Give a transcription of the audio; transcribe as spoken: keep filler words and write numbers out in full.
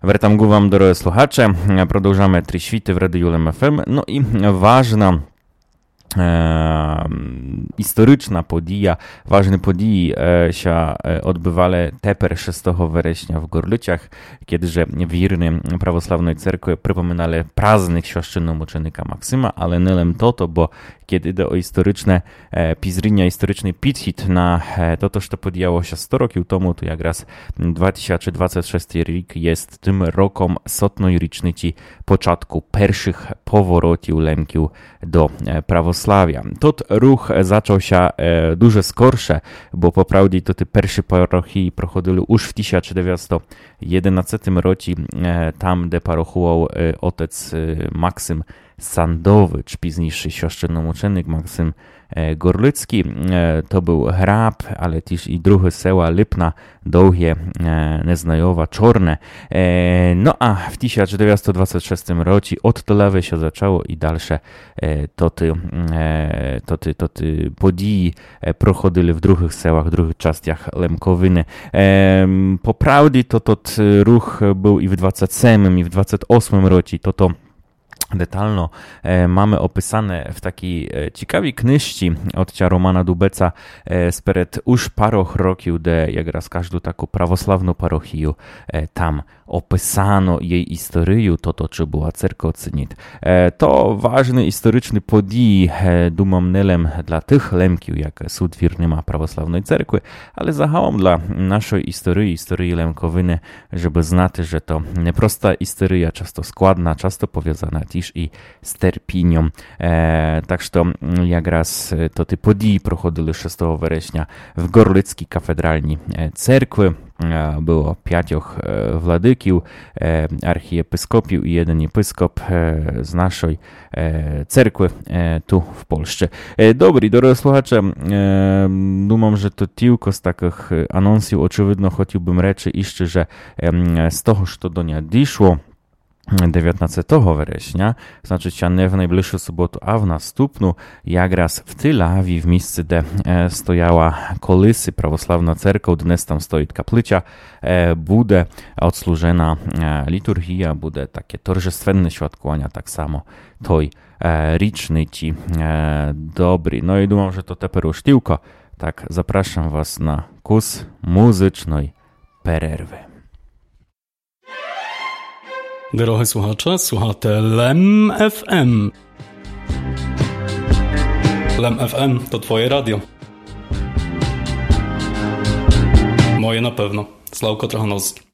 Вертам ґу вам, дорогы слухаче. Продовжаме Три світы в Радію Лем ФМ. Но і важна, е, історична подія, важны події, е, ся, е, одбывали тепер шестого вересня в Горлицях, кеды же вірны православной церкви припоминали праздник священномученика Максима, але не лем тото, бо кеды іде о історичне, е, пізріня, історичный підхід на, е, тото, што подіяло ся сто років тому, то якраз два тисячы двадцет шестый рік єст тым роком сотной річниці початку першых поворотів Лемків до, е, православя. Тот рух зачав ся, е, дуже скорше, бо по правді то тоты першы парохії проходили уж в тисяча девятсто єдинадцятым році, е, там, де парохував, е, отець, е, Максим Сандович, пізнійшый священномученик Максим, е, Горлицкій. Е, то был Граб, але тіж і другы села: Липна, Довге, е, Незнайова, Чорне. Е, но а в тисяча девятсто двадцет шестым році од Тылавы ся зачало і дальше, е, тоты, е, тоты, тоты події, е, проходили в другых селах, в другых частях Лемковины. Е, по правді то тот рух был і в двадцет семым, і в двадцет осмым році. Тото детално, е, маме описане в такій, е, цікавій книжці отця Романа Дубеца, е, сперед уж парох років, де якраз кажду таку православну парохію, е, там описано єй історію, тото, ци была церква, ци ніт. Е, то важны історичны події, е, думам, не лем для тых Лемків, як сут вірныма православной церкви, але загалом для нашой історії, історії Лемковины, жебы знати, же то не проста історія, часто складна, часто повязана тіж і з терпіньом. Е, так што, м, якраз, е, тоты події проходили шестого вересня в Горлицкій кафедральній, е, церкви. Е, было пятьох, е, владыків, е, архієпископів і єден єпископ, е, з нашой, е, церкви, е, ту в Польщи. Е, добрі, дорогы слухаче, е, думам, же то тілько з такых, е, анонсів. Очевидно, хотів бым речы іщы, же, ем, з того, што до ня дішло, девятнадцятого вересня, значыт ся не в найближшу суботу, а в наступну, якраз в Тылаві, в місци, де, е, стояла колиси православна церква, днес там стоіт каплиця, е, буде одслужена, е, літургія, буде таке торжественне святкованя так само той, е, річниці. Е, добрі. Но і думам, же то тепер уж тілько. Так, запрашам вас на кус музычной перервы. Дорогы слухаче, слухате Лем ФМ. Лем ФМ — то твоє радіо. Моє на певно. Славко Трохановськый.